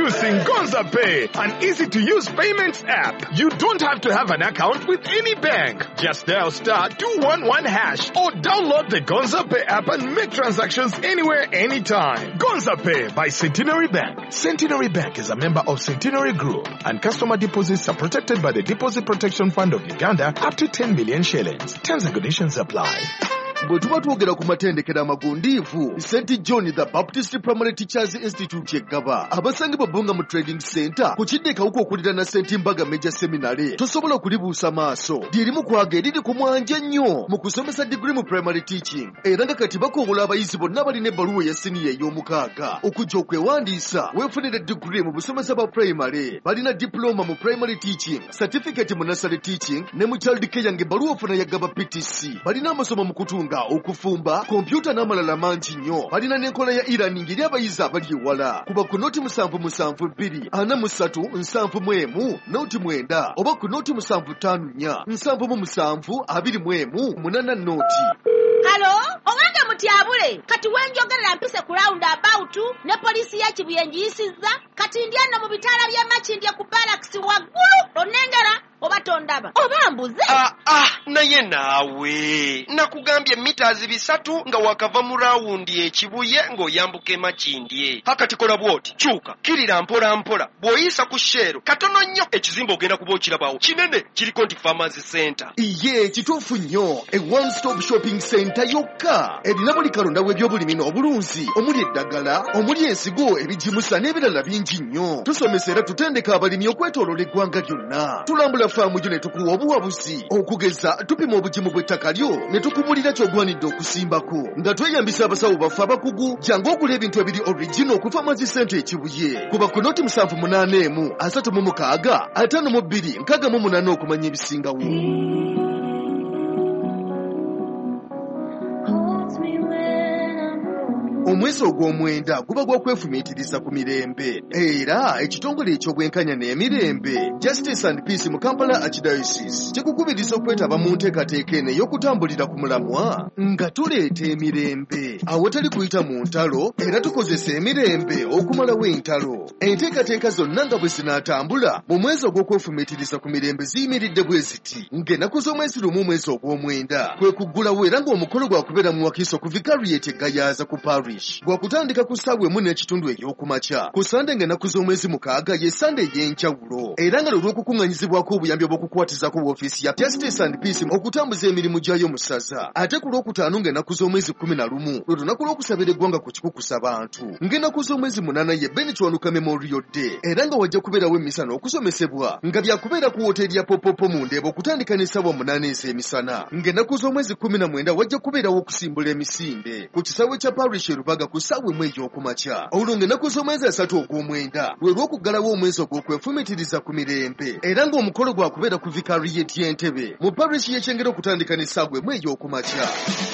Introducing Gonza Pay, an easy-to-use payments app. You don't have to have an account with any bank. Just dial *211# or download the Gonza Pay app and make transactions anywhere, anytime. Gonza Pay by Centenary Bank. Centenary Bank is a member of Centenary Group, and customer deposits are protected by the Deposit Protection Fund of Uganda up to 10 million shillings. Terms and conditions apply. Bwe tuba twogera ku matendekero amagundiivu, St John the Baptist Primary Teachers Institute eggaba abasangibwa Bbunga mu Trading Center ku kidde Kawuka okuliraana St Mbaga Major Seminary, tosobola kulibuusa maaso. Lyerimu kwaga eriri ku mwanje ennyo mu kusomesa digiri mu primary teaching, era nga kati bakowola abayizi bonna balina ebbaluwa eya siniya ey'omukaaga okujja okwewandiisa weefunire digiri mu busomesa bwa primary. Balina diploma mu primary teaching, certificate mu nursery teaching ne mu child care ng'ebbaluwa ofuna ya Gaba PTC. Balina amasomo mu kutunga, okufumba, kompyuta n'amalala mangi nnyo. Balina n'enkola ya e-learning eri abayizi abali ewala. Kuba ku 077 243 71 09 oba ku 075 477 21 80. Halo, owange mutyabule, kati wenjogerera mpise ku round about ne poliisi ya Kibuye ngiyisizza, kati ndi ano mu bitaala by'e Makindye ku barracks waggulu, onnengera oba tondaba oba mbuze? Naye naawe nakugambye mita 300 nga wakava mu rawundi ekibuye ng'oyambuka e Makindye. Hakati kola bw'oti, kyuka kirira mpola mpola, bw'oyisa ku Shell katono nnyo ekizimbe ogenda kuba okirabawo kinene, kiriko nti Farmers Center. Iye kituufu nnyo, e one stop shopping center yokka erina buli kalonda w'ebyobulimi n'obulunzi, omuli eddagala, omuli ensigo, ebigimusa n'ebirala bingi nnyo. Tusomesa era tutendeka abalimi okwetooloola eggwanga lyonna. Tulambula faamu gyo ne tukuwa obuwabuzi, okugeza tupima obugimu bw'ettaka lyo ne tukubulira ky'ogwanidde okusimbako nga tweyambisa abasawo baffe abakugu. Jangu ogula ebintu ebiri original ku Farmers Center ekibuye. Kuba ku 078 36 52 68 okumanya ebisingawo. Omwezi ogw'omwenda guba gwa kwefumiitiriza ku mirembe, era ekitongole eky'obwenkanya n'emirembe Justice and Peace mu Kampala Archdiocese kikukubiriza okwetaba mu nteekateeka eno ey'okutambulira ku mulamwa nga tuleeta emirembe awatali kuyita mu ntalo, era tukozesa emirembe okumalawo entalo. Enteekateeka zonna nga bwe zinaatambula mu mwezi ogw'okwefumiitiriza ku mirembe ziyimiridde bwe ziti: ng'ennaku z'omwezi 1 omwezi ogw'omwenda kwe kuggulawo, era ng'omukolo gwakubeera mu Wakiso ku Vicariate e Gayaza ku Parish, gwakutandika ku ssaawa 1:15 ey'okumakya. Ku Sande ng'ennaku z'omwezi 6 ye Sande ey'enjawulo, era nga lwe lw'okukuŋŋanyizibwako obuyambi obw'okukwatizako woofiisi ya Justice and Peace okutambuza emirimu gyayo mu ssaza. Ate ku Lwokutaano ng'ennaku z'omwezi 11 lwe lunaku lw'okusabira eggwanga ku kikukusa bantu. Ng'ennaku z'omwezi 8 ye Ben Kiwanuka Memorial Day, era nga wajja kubeerawo emmisa n'okusomesebwa nga byakubeera ku woteeri ya Popopo mu Ndeeba okutandika n'essaawa 8 ez'emisana. Ng'ennaku z'omwezi 19 wajja kubeerawo okusimbula emisinde ku kisaawe kya Parish e Rubaga ku ssaawa 1 ey'okumakya. Olwo ng'ennaku z'omwezi 3 ogw'omwenda lwe lw'okuggalawo omwezi ogw'okwefumiitiriza ku mirembe, era ng'omukolo gwakubeera ku Vicariate y'Entebe mu Parish y'Ekyengera okutandika n'essaawa 1 ey'okumakya.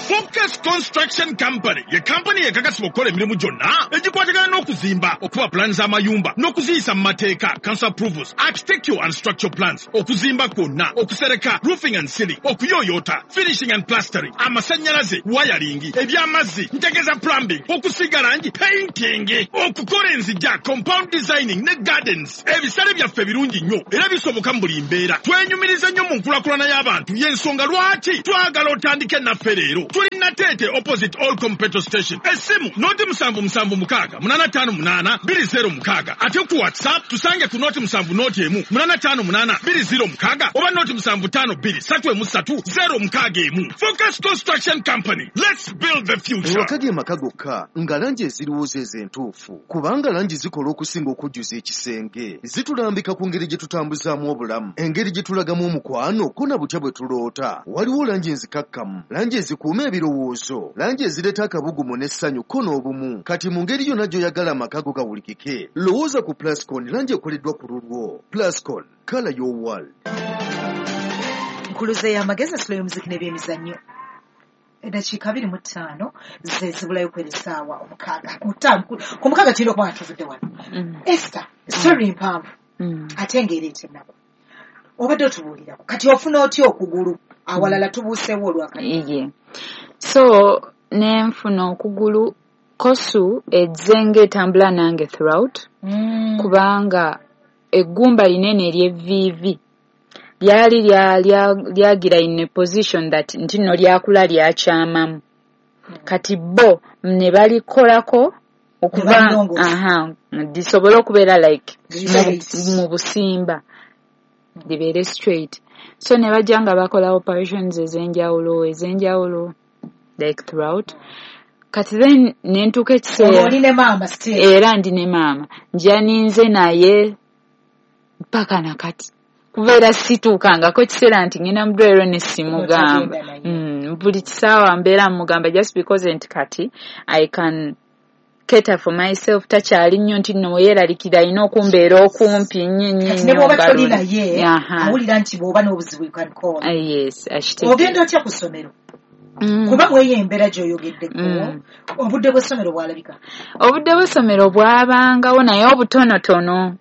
Focus Construction Company ye kampani ekakasibwa okukola emirimu gyonna egikwatagana n'okuzimba, okuba pulaani z'amayumba n'okuziyisa mu mateeka, council approvals, architectural and structural plans, okuzimba kwonna, okusereka, roofing and ceiling, okuyooyoota, finishing and plastering, amasannyalaze, wiring, eby'amazzi, ntegeeza plumbing, okusiiga langi, painting, okukola enzija, compound designing ne gardens. Ebisale byaffe birungi nnyo era bisoboka mu buli mbeera. Twenyumiriza nnyo mu nkulaakulana y'abantu, y'ensonga lwaki twagala otandike naffe leero. Tuli Nateete opposite Allcom petrol station. Essimu 077 6 85 206. Ate ku WhatsApp tusange ku 070 1 858 206 oba 075 2 3 3 061. Focus Construction Company. Let's build the future. Ewaka ge maka gokka nga langi eziriwo ze entuufu, kubanga langi zikola okusinga okujjuza ekisenge. Zitulambika ku ngeri gye tutambuzaamu obulamu, engeri gye tulagamu omukwano, ko na butya bwe tuloota. Waliwo langi enzikakkamu, langi ezikuuma ebirowoozo, langi ezireeta akabugumu n'essanyu ko n'obumu. Kati mu ngeri yonna gy'oyagala amaka go gawulikike, lowooza ku Plascon, langi ekoleddwa ku lulwo. Plascon, color your world. Nkuluze y'amagezi, asulo y'omuziki n'ebyemizannyo. Eddakiika 25 ze zibulayo kwera essaawa 6. Ku 6 tulina okuba nga tuvudde wano. Esther, story mpanvu ate ng'ereeta ennaku. Obadde otubuulirako, kati ofuna otya okugulu? Awalala tubuuseewo olwakati. Iye, so nenfuna okugulu. COSU ezze ng'etambula nange throughout, kubanga eggumba linene ery'evviivi lyali lyagira in a position that nti nno lyakula lyakyamamu. Kati bo ne balikolako okuva lisobole okubeera like mu busimba, libeere straight. So ne bajja nga bakola operations ez'enjawulo like throughout. Kati then ne ntuuka ekiseera oli ne maama still? Era ndi ne maama, njaninze naye mpaka nakati, kubeera situukangako ekiseera nti ngenda mu ddwaliro ne simugamba. Buli kisaawa mbeera mugamba, just because nti kati I can cater for myself, takyali nnyo nti nno weyeeralikira alina okumbeera okumpi nnyo nnyo. Ne bw'oba toli naye awulira nti bw'oba n'obuzibu you can call. Yes. Ogenda otya ku ssomero? Kuba mweyo embeera gy'oyogeddeko, obudde bw'essomero bwalabika? Obudde bw'essomero bwabangawo, naye obutonotono.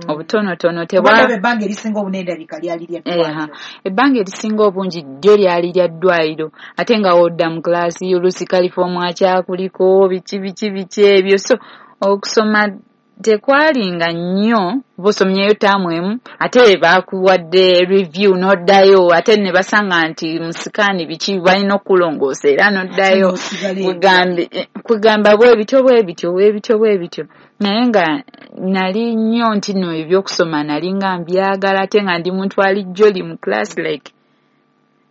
Obutonotono. Ebbanga erisinga obunene ndabika lyali lya ddwaliro. Ebbanga erisinga obungi ddyo lyali lya ddwaliro, ate nga wodda mu class oluusi kalifoomu akyakuliko biki biki biki ebyo. So okusoma tekwalinga nnyo, bosomyeyo taamu emu ate bakuwadde review n'oddayo, ate ne basanga nti musikaani biki balina okulongoosa era n'oddayo, kugamba bwe bityo bwe bityo bwe bityo bwe bityo. Naye nga nali nnyo nti nno ebyokusoma nali nga mbyagala, ate nga ndi muntu ali jolly mu class, like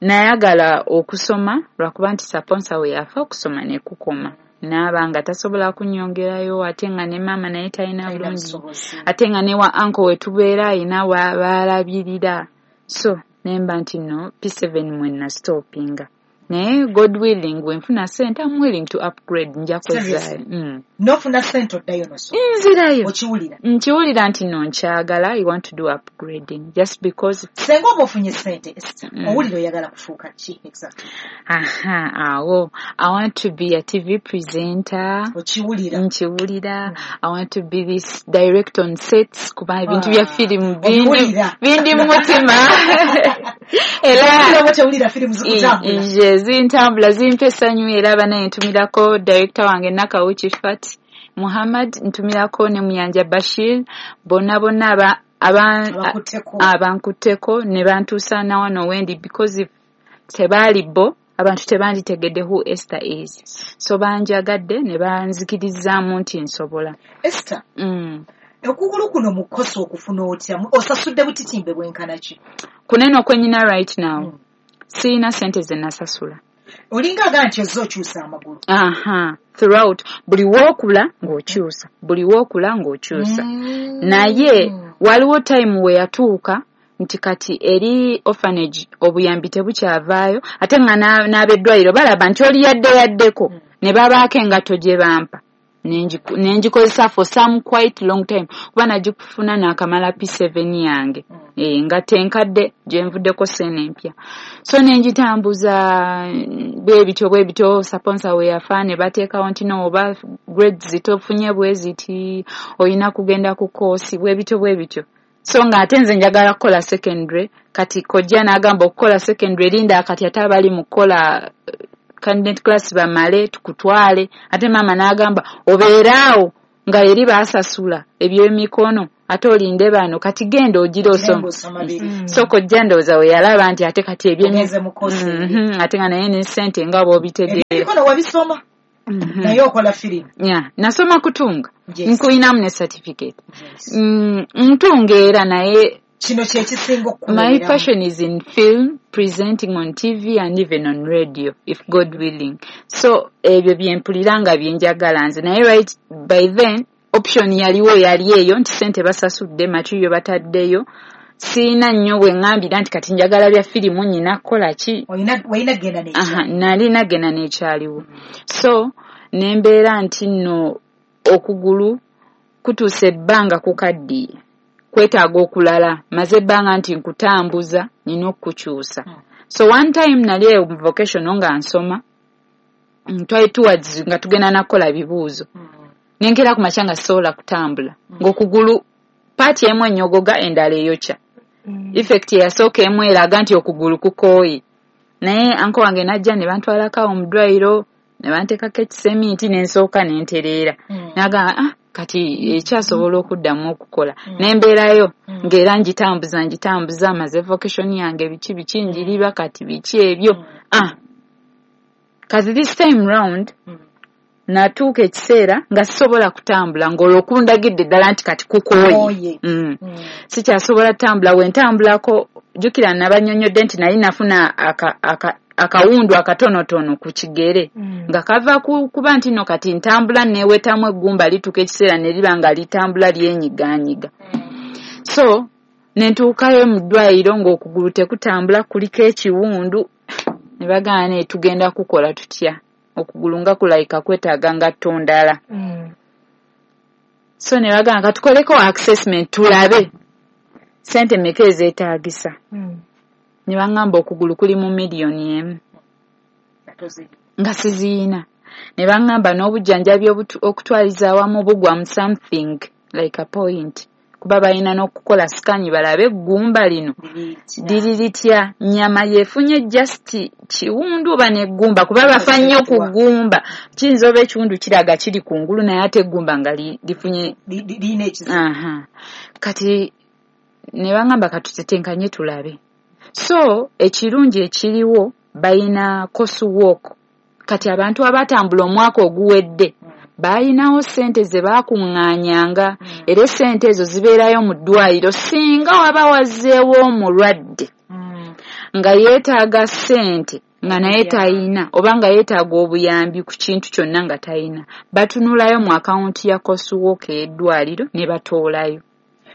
nayagala okusoma, lwakuba nti sponsor we yafa okusoma ne kukoma, naaba nga tasobola kunnyongerayo, ate nga ne maama naye talina bulungi, ate nga ne wa uncle we tubeera ayina baalabirira. So nemba nti no P7 mwe nastopinga, naye God willing bwe nfuna sente I'm willing to upgrade, nja kwezaayo. Nofuna sente oddayo nosoma? Nzirayo. Okiwulira? Nkiwulira nti no nkyagala, I want to do upgrading just because. Senga oba ofunye sente, owulira oyagala kufuuka ki exactly? Aha, awo I want to be a TV presenter. Okiwulira? Nkiwulira. I want to be this direct on sets, kuba ebintu bya firimu bindi mu mutima. Era tewulira firimu zikutambula? Nje zintambula, zimpa essanyu. Era banaye ntumirako director wange Nakawuki Fat Muhammad, ntumirako ne Muyanja Bashir, bonna bonna abankutteko ne bantuusa na wano wendi, because if tebaali bo abantu tebanditegedde who Esther is. So banjagadde ne banzikirizaamu nti nsobola. Esther, okugulu kuno mu COSU okufuna otya? Osasudde butitimbe bwenkana ki? Kuneno kwenyina right now, siina sente ze nasasula. Olinga aga nti ozze okyusa amagulu. Aha, throughout buli wookula ng'okyusa, buli wookula ng'okyusa. Naye waliwo time we yatuuka nti kati eri orphanage obuyambi tebukyavaayo, ate nga n'abeddwaliro balaba nti oli yadde yaddeko, ne babaako engatto gye bampa nengikozesa for some quite long time, kuba nagikufuna naakamala P7 yange, nga tenkadde gye nvuddeko sene empya. So nengitambuza bwe bityo bwe bityo. Sponsor we yafa ne bateekawo nti no oba grades tofunye bwe ziti olina kugenda ku course, bwe bityo bwe bityo. So ng'ate nze njagala kukola secondary. Kati kojja n'agamba okukola secondary linda kati ate abali mu kukola candidate class bamale tukutwale. Ate maama n'agamba obeeraawo nga eri baasasula ebyemikono ate olinde bano, kati genda ogira osoma. So kojja ndowooza we yalaba nti ate kati ate nga naye ne ssente nga bw'obitegeera. Emikono wabisoma, naye okola firimu? Yeah, nasoma kutunga, nkulinamu ne certificate. Ntunga era, naye kino kyekisinga. My passion is in film, presenting on TV and even on radio, if God willing. So ebyo byempulira nga byenjagala nze. Naye right by then option yaliwo yali eyo nti sente basasudde, material bataddeyo, siina nnyo bwe ŋŋambira nti kati njagala bya firimu nnyina kukola ki. Nalina genda n'ekyaliwo. So ne mbeera nti nno okugulu kutuusa ebbanga kukaddiye, kwetaaga okulala, maze ebbanga nti nkutambuza, nina okukukyusa. So one time nali eyo mu vocational nga nsoma, twali towards nga tugenda nakukola bibuuzo, nenkeera ku makya nga sisobola kutambula, ng'okugulu part emu enyogoga endala eyokya. Effect eyasooka emu eraga nti okugulu kukooye, naye uncle wange najja ne bantwalako awo mu ddwaliro. Ne banteekako ekiseminti ne nsooka ne ntereera. Nagamba kati ekyasobola okuddamu okukola. Ne mbeerayo ng'era ngitambuza maze vocation yange biki biki njiriba kati biki ebyo. Kati this time round natuuka ekiseera nga sisobola kutambula ng'olwo kundagidde ddala nti kati kukooye. Sikyasobola kutambula, we ntambulako jjukira nabannyonnyodde nti nali nafuna akawundu akatonotono ku kigere nga kava kuba nti no kati ntambula neewetamu eggumba lituuka ekiseera ne liba nga litambula lyenyiganyiga. So ne ntuukayo mu ddwaliro ng'okugulu tekutambula kuliko ekiwundu ne bagamba naye tugenda kukola tutya, okugulu nga kulayika kwetaaga ngatto ndala. So ne bagamba katukoleko assessment tulabe ssente mmeka ezeetaagisa. Ne baŋŋamba okugulu kuli mu 1 million nga siziyina. Ne baŋŋamba n'obujjanjabi okutwaliza awamu bugwa mu something like a point, kuba balina n'okukola scan balabe eggumba lino liri litya, nnyama yeefunye just kiwundu oba n'eggumba, kuba bafa nnyo ku ggumba. Kiyinza oba ekiwundu kiraga kiri kungulu naye ate eggumba nga lifunye lirina ekizibu. Kati ne baŋŋamba katutetenkanye tulabe. So ekirungi ekiriwo balina COSU walk. Kati abantu abatambula omwaka oguwedde balinawo ssente ze baakuŋŋaanyanga, era essente ezo zibeerayo mu ddwaliro singa waba wazzeewo omulwadde nga yeetaaga ssente nga naye tayina, oba nga yeetaaga obuyambi ku kintu kyonna nga tayina, batunulayo mu akawunti ya COSU walk ey'eddwaliro ne batoolayo.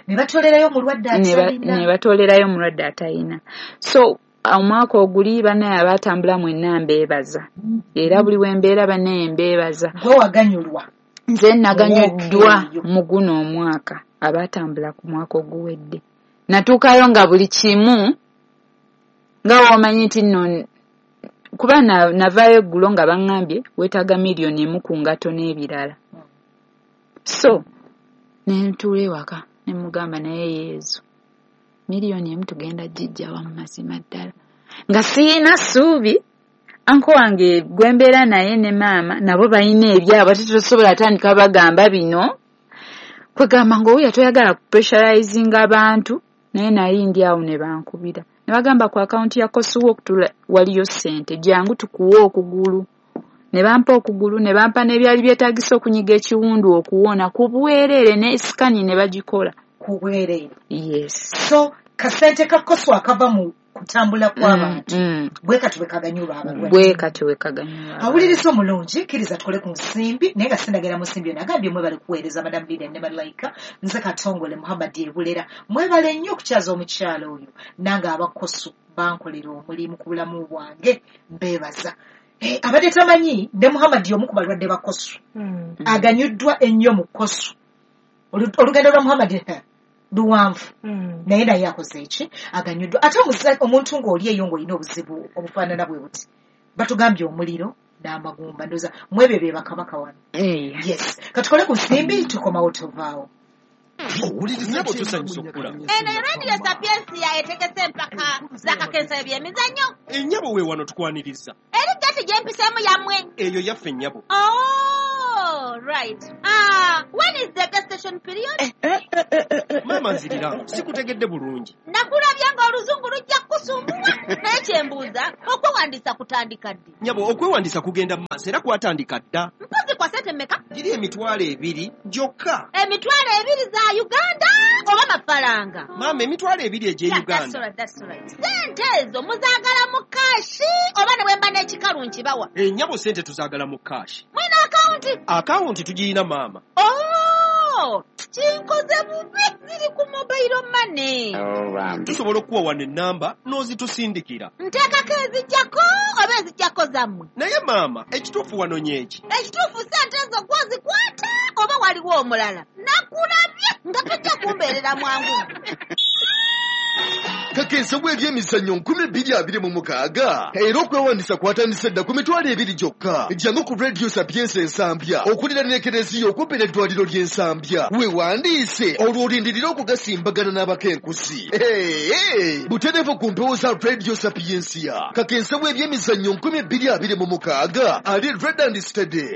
Ne batoolerayo omulwadde atalina. Ne batoolerayo omulwadde atalina. So omwaka oguli bannaye abaatambula mwenna mbeebaza. Era buli we mbeera bannaye mbeebaza. Gwe waganyulwa. Nze naganyuddwa mu guno omwaka abaatambula ku mwaka oguwedde. Natuukayo nga buli kimu nga w'omanyi nti nno kuba navaayo eggulo nga baŋŋambye weetaaga 1 million ku ngatto n'ebirala. So ne ntuula ewaka ne mugamba naye Yezu 1 million tugenda gijja wa mu mazima ddala. Nga siyina ssuubi, anko wange gwe mbeera naye ne maama nabo balina ebyabwe ate tosobola tandika bagamba bino. Kwegamba ng'owulira toyagala kupressurizinga abantu, naye nali ndi awo ne bankubira. Ne bagamba ku akawunti ya COSU walk waliyo ssente, jangu tukuwe okugulu. Ne bampa okugulu, ne bampa n'ebyali byetaagisa okunyiga ekiwundu okuwona ku bwereere ne scan ne bagikola. Ku bwereere. Yes. So kasente ka COSU akava mu kutambula kw'abantu bwe kati bwe kaganyulwa abalwadde. Bwe kati bwe kaganyulwa. Awuliriza omulungi, kkiriza tukole ku nsimbi, naye nga sindagera mu nsimbi eno. Agambye mwebale kuweereza Madam Lilian ne Malayika, nze Katongole Muhammad Ebulera. Mwebale nnyo okukyaza omukyala oyo, nange aba COSU bankolera omulimu ku bulamu bwange, mbeebaza. Abadde tamanyi ne Muhammad y'omu ku balwadde ba COSU. Aganyuddwa ennyo mu COSU. Olugendo lwa Muhammad luwanvu. Naye naye akoze eki aganyuddwa. Ate omuntu ng'oli eyo ng'olina obuzibu obufaanana bwe buti, batugambye omuliro n'amagumba, ndowooza mwebyo bye bakabaka wano. Yes, katukole ku nsimbi tukomawo tovaawo. Nnyabo tusanyusa okulaba. Eno Radio Sapientia etegese empaka z'akakensa ebyemizannyo. Ennyabo we wano tukwaniriza. Eri gati gye mpiseemu yammwe. Eyo yaffe nnyabo. Oh, right. When is the gestation period? Maama nzirira, sikutegedde bulungi. Nakulabye ng'oluzungu lujja kukusumbuwa. Naye kye mbuuza, okwewandiisa kutandika ddi? Nnyabo, okwewandiisa kugenda mu maaso era kwatandika dda. Mpozi kwa ssente mmeka? Giri 20,000 gyokka. 20,000 za Uganda oba mafaranga? Maama, 20,000 egy'e Uganda. That's right. Ssente ezo muzaagala mu kaashi oba ne bwe mba n'ekikalu nkibawa? Ennyabo ssente tuzaagala mu kaashi. Mwina akawunti? Akawunti tugiyina maama. Oh, kinkoze bubi, ziri ku mobile money. Tusobola okuwa wano ennamba n'ozitusindikira. Nteekako ezijjako oba ezijjako zammwe? Naye maama, ekituufu wano nyeeki. Ekituufu ssente ezo gwozikwata oba waliwo omulala? Nakulabye nga tojja kumbeerera mwangu. Kakensa w'ebyemizannyo 2026, era okwewandisa kwatandise dda ku 20,000 gyokka. Jangu ku Radio Sapientia Ensambya okuliraana ekereziya okumpi n'eddwaliro ly'Ensambya, weewandiise olwo olindirire okugasimbagana n'abakenkusi. Butereevu ku mpewo za Radio Sapientia. Kakensa w'ebyemizannyo 2026 ali ready and steady.